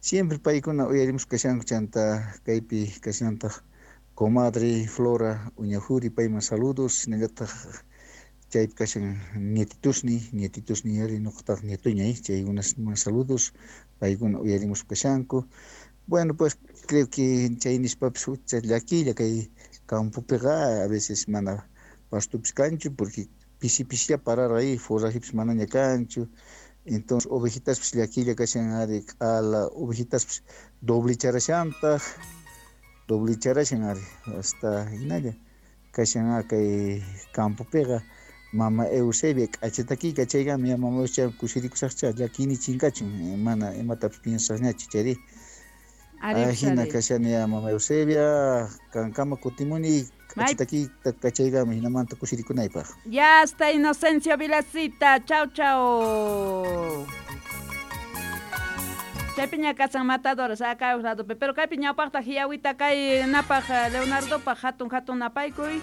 Siempre paykuna uyarimuspa kashanku, chanta kaypi kashantaq comadre Flora Uñajuri, payman saludos, hinallataq chaypi kashan nietitusni, nietitusni ari noqataq nietoñay, chaykunasman saludos, paykuna uyarimuspa kashanku. Bueno, pues creo que chay nispapis hucha llakilla kay campopiqa a veces mana pastupis kanchu porque pisi pisilla parar ahí, forrajipis manaña kanchu. Entonces ovejitaspis llakilla kashan ari q'ala ovejitaspis doblicharashantaq, doblicharashan ari hasta hinalla kashan kay campopiqa. Mama Eusebia k'achatakiyka chaykama ya mama Eusebia kusirikusaqcha llakiyni chinkachun, mana imatapis piensasñachu chayri. Ajina kashani ya mama Eusebia, kankama kutimuni k'achatakiyta kachaykama hinamanta kusirikunaypaq. Ya hasta Inocencio Vilacita, chau chau. Chaypiña kasan matadores acá ladopi, pero kaypi ñawpaqta hiyawita kay napaq Leonardopaq hatun hatun napaykuy.